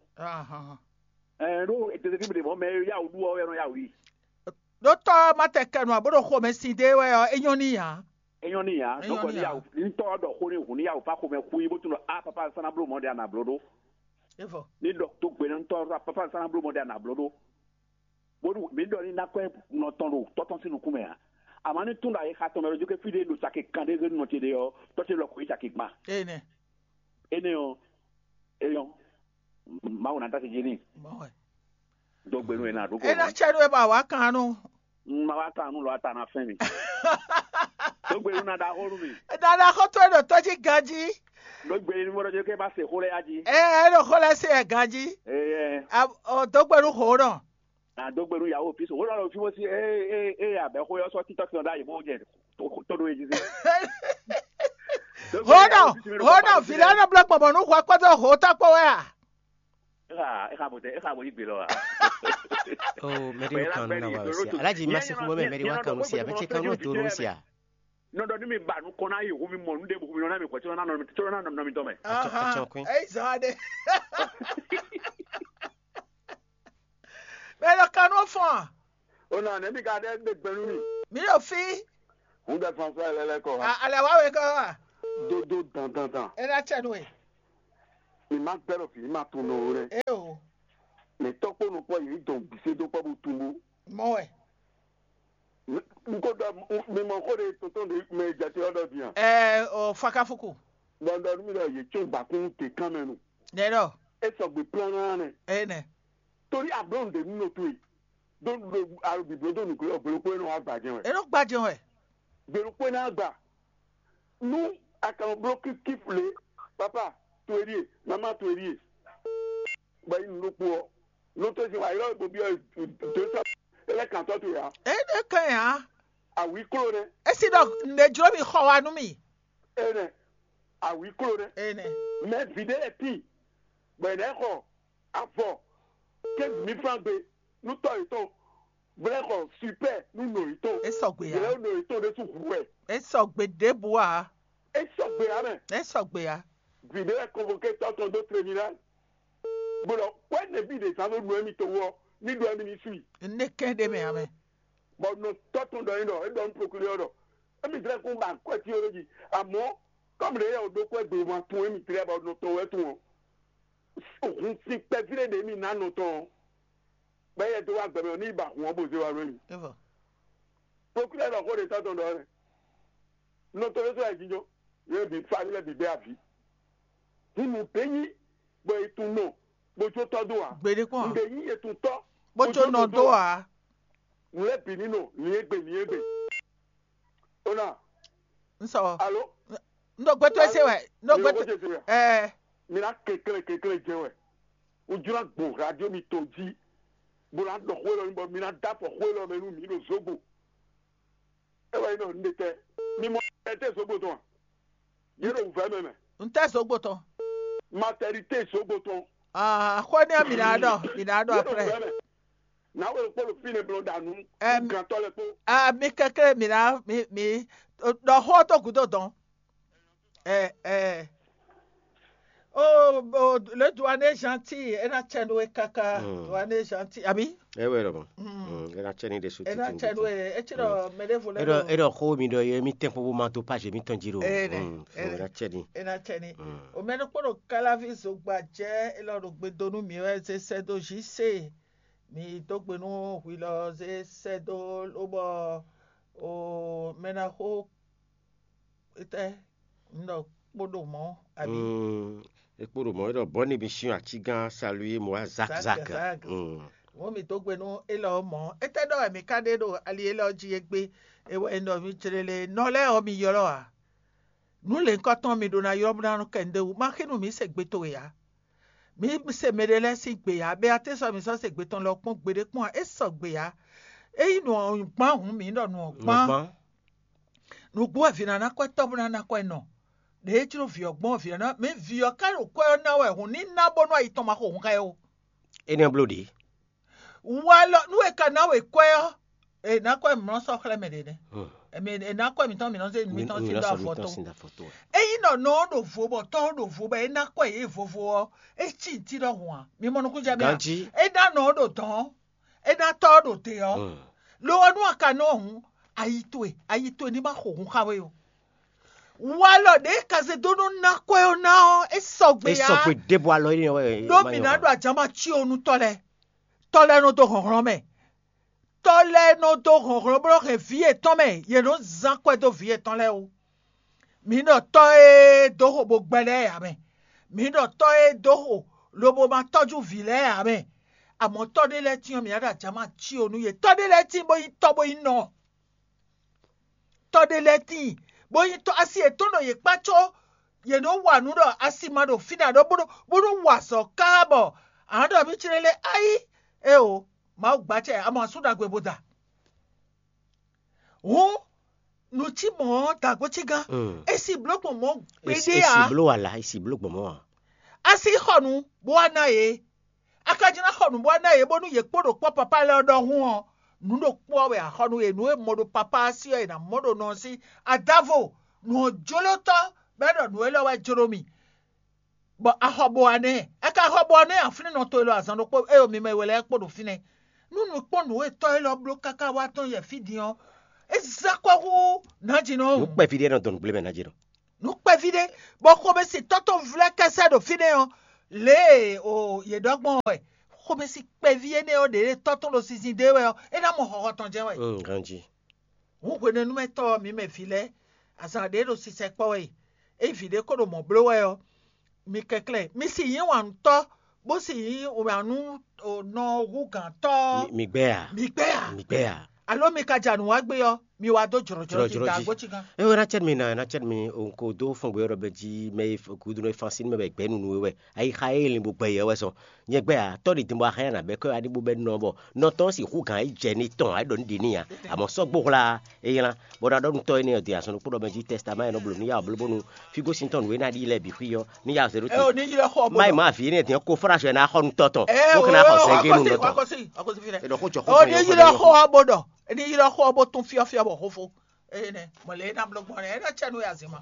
Ɛɛ ɖó ètètè kí mi ɖe mɔ mɛ ya wǔ ɖu ɔ́ wɛ nɔ ya wǔ yi. Ɖó tɔ́ ɔ́ má tɛ kɛ nɔ ǎ bó ɖo xomɛ sin dé wɛ ɔ́, é nyɔ́ n'i ǎ. É nyɔ́ n'i ǎ. É nyɔ́ Donc n'i ní ǎ. Yawó ní tɔ́ ɔ́ ɖɔ xó ní hǔn ní yawó fá xomɛ xú yí bó tunɔ á papa sá ná bló mɔ̌ ɖé a nǎ bló ɖó. É vɔ. Ní ɖɔ tó gbe ní tɔ́ ɔ́ papa sá ná bló mɔ̌ ɖé a nǎ bló ɖó. Bónú mǐ ɖɔ ní ná kwɛ́ nɔ tɔn ɖo tɔ́ tɔn sín nukún mɛ ǎ. Àmọ́ ní tún ɖo ayixa tɔn mɛ ɖo jókè fí ɖé ɖo caki kan ɖé zé nɔ ce ɖe ɔ́, tɔ́ ce lɔ kɔ yi caki gban. Énɛ́. Énɛ́ ɔ́, é nyɔ́. Mawu ná tá ce jí n'i. Mɔ̌ wɛ. Dó gbe nú ɛ ná ɖó kó. É ná cɛ nú ɛ bɔ àwa kan nú. Ma wá kan nú lɔ ata ná fɛn mi. Dó gbe nú ná ɖaxó nú mi. Dada xɔtɔ́ ɖo tɔ́ jí ganjí. Dó gbe nú mɔɖɔ jẹ́ kí ẹ bá se xó lɛ yá jí. Ɛ ɛ ɖo xó lɛ se ɛ ganjí. Ɛ ɛ. Ɔ dó gbe nú xó nɔ. Ná dó gbe nú yahoo físo. Wó lɔ lɔ fí wó sí ɛ ɛ ɛ abɛ xó yɔ sɔ títọ́ kí ɔdá yìí bó jẹ tó tó ɖó yé jí sí. Hónɔ hónɔ vǐ lɛ́ɛ nɔ bló gbɔn mɔ̌ nú hwɛ kpódó hǒtɔ́ kpó wɛ a? Exa exa bo tɛ exa bo yi gbe lɔ wa. Oh, mɛɖe kan nɔ na wa si. Alaji ma se kuma mɛ mɛɖe wa kan si a bɛ ce kan nɔ to nɔ si a. Nɔ dɔ ni mi ba nukɔn na yi hu mi mɔ nu de bu mi nɔ na mi kɔ tí nɔ na nɔ mi tɔ mɛ. Atsɔ atsɔ kún. Eyi zan de. Mɛ lɔ kan nɔ fɔn. O na ne mi ka ɖe gbe gbɛnu mi. Mi ɖo fi. Hun bɛ fan fɛ lɛ lɛ kɔ ha. Alɛ wa wɛ kɔ wa. Dodo dan dan dan. E na cɛ nu ye. Má gbɛ́ ɖɔ vǐ ma tunwun nɔ ó nɛ́. Eo, Mɛ tɔ́ kpó nukpɔ́ yě dɔn gbǐsé dó kpɔ́ bó tunwun bó. Mɔ wɛ. N ko ɖɔ mi mɔ xó ɖe tɔntɔn ɖe mɛ jate ɔ́ ɖɔ din a? Ɛ o fakafuku. Bɔ n ɖɔ nú mi ɖɔ yě tsɔ́n gbakún te kán mɛ nu. Nɛ ɖɔ. É sɔgbe plán nɛ. Ɛ nɛ. Torí ablɔ́ ɖe nú nɔ towe. Ɖó ɖo alo bǐbló dó nǔgbé ɔ́, gbelokpó é nɔ wá gbajɛ wɛ. É nɔ gbajɛ wɛ. Gbelokpó é ná gba. Nú a ka nɔ bló kíkífle, papa towe ɖíe, mama towe ɖíe. Bɔ yi nǔ ɖokpó ɔ́, nú tó sin wa ylɔ́ bo byɔ́ dó sɔ é lɛ́ kantɔ́ towe ǎ. É ɖe kɛn ǎ. Awǐ kló nɛ́. É si ɖɔ nǔɖé jló mi xɔ wa nú mi. Énɛ́, awǐ kló nɛ́. Énɛ́. Mɛ vǐ ɖé lɛ́ɛ tíin, bɔ è nǎ xɔ avɔ quinze mille francs gbe nú tɔ́ yětɔn, bɔ é xɔ super nú nɔ yětɔn. É sɔgbe ǎ. Yě lɛ́ nɔ yětɔn ɖésú hu wɛ. É sɔgbe ɖěbǔ ǎ. É sɔgbe ǎ mɛ. É sɔgbe ǎ. Vǐ ɖé lɛ́ɛ convoqué tɔ́ tɔn dó tribunal. Bó ɖɔ kwɛ́ nɛbí ɖě zán ɖó nǔ émítɔn wú ɔ́, ní ɖó émí ní su i. Né kɛ́n ɖé mɛ ǎ mɛ. Bɔ nɔ tɔ́ tɔn ɖɔ é ɖɔ é ɖɔ nú procureur ɖɔ émí zlɛ́ kún ba kwɛ́ cyɔ́n ɖó jí. Amɔ̌ kɔ́mɖě yɛ ò ɖó kwɛ́ gbe ma tun émí tlɛ bɔ nɔ tɔn wɛ tun ɔ́, hun sin kpɛví ɖé ɖě mì ná nɔ tɔn ɔ́, bɔ éyɛ́ dó wá gbɛ mɛ ɔ́ ní yi ba hun ɔ́ bó zé wá nú émí. Evɔ. Procureur ɖɔ xó ɖě tɔ́ tɔn ɖɔ ɔ́ nɛ́. Nɔ tɔn ɖésú wɛ jínjɔ́n, yě bǐ fá lɛ́ɛ bǐ bɛ́ avǐ. Hun nǔɖé nyí bɔ è tun nɔ bó jó tɔ́ dó ǎ. Gbeɖé kpɔ́n ǎ. Nǔɖé nyí è tun tɔ́ Bó jó nɔ dó ǎ. Nǔ lɛ́ɛ bǐ ní nɔ nǐ e gbe nǐ e gbe. Ó ná N sɔ. Alo? N ɖo gbɛtɔ́ ese wɛ. N ɖo gbɛtɔ́. Ɛ. Mi ná kɛnklɛ́n kɛnklɛ́n jɛ wɛ. Un jló agbo radio mi to jí, bó ná ɖɔ xó élɔ́ bɔ mi ná dó afɔ xó élɔ́ mɛ nú mǐ ɖo zógbo. É wɛ nyí ɖɔ un ɖe tɛ. Mi mɔ ɛ tɛ zógbo tɔn a? Yě ɖo wǔvɛ́ mɛ mɛ. N tɛ zógbo tɔn. Maternité zógbo tɔn. Ah, xó ní mi ná ɖɔ, mi ná ɖɔ Yě ɖo après. Wǔvɛ́ mɛ. Nǎwe ɖokpó ɖo fínɛ́ bló ɖa nú Ɛm. Gantɔ́ lɛ́ɛ kpó. Ah, mi kɛkɛ mi ná mi mi ɖɔ xó tó gúdo dɔn. Ɛ ɛ. Oh, oh, le doigt est gentil, é ná tsɛ nú we káká. Mm. Doigt est gentil, àbí? É wɛ ɖɔmɔ. Mm. Mm, é ná tsɛ ní ɖésú É ná títí tsɛ nú we, é tsi ɖɔ mɛ ɖé vo lɛ Eɖɔ ɖo. Eɖɔ xó mi ɖɔ ye mi tɛn kpó bó ma tó page mi tɔn jí ɖo. Ene, Mm, ene. É ná tsɛ ní. É ná tsɛ ní. Mm. O mɛ ɖokpó ɖo Kalavi zogba jɛ élɔ́ ɖo gbe dó nú mi wɛ zé sɛ́ dó J C. Mi dó gbe nú hwi lɔ zé sɛ́ dó lóbɔ o mɛ ná xó étɛ́ un ɖɔ kpó ɖo mɔ̌ abǐ. Mm, é kpó ɖo mɔ̌ é ɖɔ bɔ̌ n'i mi syɔ́n ací gán salué mɔ wá zak Zak, zak. Zak. Mm. Wǒ mi dó gbe nú élɔ́ mɔ̌. Étɛ́ ɖɔ wɛ mi ka ɖe ɖo ali élɔ́ jí égbé? É wɛ un ɖɔ mi jlélé nɔ lɛ́ɛ ɔ́ mi ylɔ́ ǎ. Nǔ lěhunkɔtɔn mi ɖó ná ylɔ́ bó ná nɔ kɛ nǔɖé wú. Má xínú mǐ se gbe towe ǎ. Mǐ se mɛɖé lɛ́ɛ sín gbe ǎ. Bɛ́ atɛ́ sɔ́ mǐ sɔ́ se gbe tɔn lɔ kpɔ́n gbeɖé kpɔ́n ǎ. É sɔgbe ǎ. Ényí nǔ ɔ́ gbán hǔn mǐ ɖɔ nǔ ɔ́ gbán. Nǔgbán. Nǔgbó wɛ vǐ ná ná kwɛ́ tɔ́ bó ná ná kwɛ́ nɔ. Ɖěe jló vǐ ɔ́ gbɔn vǐ ɔ́ ná mǐ vǐ ɔ́ ká ɖo kwɛ́ ɔ́ ná wɛ hǔn ní ná bónú ayi tɔn ma xo hǔn xá ɛ ó. Énɛ́ bló ɖě. Walɔ nú è ka ná we kwɛ́ ɔ́, è nǎ kwɛ́ mǐ nɔ sɔ́ xlɛ́ mɛ ɖě nɛ́. Hmm. Èmi è nǎ kwɛ́ mǐtɔn mǐ nɔ zé mǐtɔn sín dó avɔ tó. Ényí nɔ nɔ ɔ́ ɖo vo bɔ tɔ́ ɔ́ ɖo vo bɔ é ná kwɛ́ yě vovo ɔ́, é cí ntí ɖɔhun ǎ. Mi mɔ nukúnjɛ mì a? Ganjí. É ná nɔ ɔ́ ɖo dɔ̌n ɔ́, é ná tɔ́ ɔ́ ɖo dě ɔ́. Hmm. Lo ɔ́ nú a ka nɔ ɔ́ hǔn, ayi towe, ayi towe ní ma xo hun xá we ó. Walɔ ɖě ka zé dó nɔ ná kwɛ́ ɔ́ ná ɔ́, é sɔgbe É ǎ. Sɔgbe ɖěbǔ alɔ é nɔ wɛ. Ɖó mǐ ná ɖo ajǎma cí ɔ́ nú tɔ́ lɛ́ɛ. Tɔ́ lɛ́ɛ nɔ dó hlɔ̌nhlɔ́n mɛ. Tɔ́ lɛ́ɛ nɔ dó hlɔ̌nhlɔ́n bó nɔ hɛn vǐ yětɔn mɛ, yě nɔ zán kwɛ́ dó vǐ yětɔn lɛ́ɛ wú. Mǐ ɖɔ tɔ́ e dó xo bó gbɛ́ lɛ́ɛ ǎ mɛ. Mǐ ɖɔ tɔ́ e dó xo lobo ma tɔ́jú vǐ lɛ́ɛ ǎ mɛ. Amɔ̌ tɔ́ ɖé lɛ́ɛ tíin ɔ́, mǐ ná ɖo ajǎma cí ɔ́ nú yě. Tɔ́ ɖé lɛ́ɛ tíin bó nyí tɔ́ bó nyí nɔ. Tɔ́ ɖé lɛ́ɛ tíin bó nyí tɔ́ asi yětɔn ɖo yě kpá có yě nɔ wa nǔ ɖɔ asi ma ɖo fínɛ́ ǎ ɖɔ bó nɔ bó nɔ wa azɔ̌ káá bɔ a nǎ ɖɔ mì clé lé ayí. Éeǒ, Mawu gbá acɛ amɔ asú ɖagbe bo da. Hǔn nǔ cí mɔ̌ ɔ́ dǎgbó cí gán. Mm. É si bló gbɔn mɔ̌ Esi gbeɖé esi ǎ. Bló wà lá, esi bló gbɔn mɔ̌ ǎ. Asi xɔ nǔ bó wá ná yě. A ka jló ná xɔ nǔ bó wá ná yě bónú yě kpó ɖo kpɔ́ papá lɛ́ɛ ɔ́ ɖɔhun ɔ́, nǔ ɖokpó ɔ́ wɛ a xɔ nú yě. Nǔ e mɔ ɖo papá ɔ́ sí ɔ́, è nǎ mɔ ɖo nɔ ɔ́ sí. Adavo, nǔ ɔ́ jló tɔ́ bɔ é ɖɔ nǔ élɔ́ wɛ jló mì. Bɔ a xɔ bo wá nɛ́. A ka xɔ bo wá nɛ́ aflínnɔ to élɔ́ azǎn ɖokpó éyɔ mi mɛ we lɛ́ɛ kpó ɖo fínɛ́. Nú nǔ kpɔ́n nǔ e tɔ́ élɔ́ bló káká wá tɔn yɛ fí din ɔ́, é zán kɔ hú nǎjínɔ. Nǔ kpɛví ɖé nɔ dɔn nǔgblé mɛ ná jɛ nɔ. Nǔ kpɛví ɖé, bɔ xomɛsitɔ́ tɔn vlɛ́ kɛsɛ ɖo fínɛ́ ɔ́, Lě e o yě ɖɔ gbɔn wɛ xomɛsi kpɛví énɛ́ ɔ́ ɖě tɔ́ tɔn ɖo sinsin dó e wɛ ɔ́, é ná mɔ xɔxɔ tɔn jɛ́n wɛ. Mm, ganjí. Hǔn hwenɛ́númɛtɔ́ ɔ́, mi mɛ vǐ lɛ́ɛ, azǎn ɖě ɖo sisɛ kpɔ́ wɛ e, ényí vǐ ɖé ko ɖo mɔ̌ bló wɛ ɔ́, mi kɛnklɛ́n, mi si nyí wǎnutɔ́, bó si nyí wǎnú nɔ hú gǎntɔ́ ɔ́, Mi gbɛ a? Mi gbɛ a? Mi gbɛ a? Alo mi ka ja nǔ wá gbé ɔ́, mi wá dó jlɔ̌jlɔ́ jí Jlɔ́jlɔ́ jí. Dǎgbó cí gán. Ewé ná cɛ́ mi ná, ná cɛ́ mi, o ko dó fɔn gbé ɔ́ ɖɔ bɛ jí mɛ e gúdo nɔ e fán sín mɛ bɛ gbɛ̌ nunu we wɛ. Ayixa e lin bó gbɛ yɛ wɛ sɔ. Nyɛ gbɛ a, tɔ́ ɖi din bɔ axɛ́ nǎ bɛ kɔ́ aɖíbo bɛ nɔ bɔ nɔ tɔn si hú gǎn yi jɛ ní tɔn, ayi ɖɔ ní ɖi ní a. Àmọ́ sɔ́ gbó hwla é nylá, bɔ ɖɔ ɖɔ nutɔ́ énɛ́ ɔ́ din azɔn ɖokpó ɖɔ mɛ jí tɛstamá e nɔ bló ní ya ɔ́ bló bónú fígósin tɔn nǔ e ná ɖi lɛ́ɛ bǐ xwí ɔ́ ní ya zɛ ɖó Ɛ o ní yi lɛ xɔ má yi má vǐ énɛ́ din kó fráṣɔ ɛ ná xɔ nutɔ́ tɔn. Ɛ bó o kɛ́ ná xɔ sɛngé nu akɔsi nutɔ́ tɔn. Akɔsi akɔsi fi lɛ. Ɖɔ xó jɔ O ní yi lɛ xɔ ɔ́ bó ɖɔ, ní yi lɛ xɔ ɔ́ bó tún fyɔ́fyɔ́ bɔ xófó. Eye nɛ mɔlɛ e ná bló gbɔn nɛ é ná cɛ nú ya zin ma.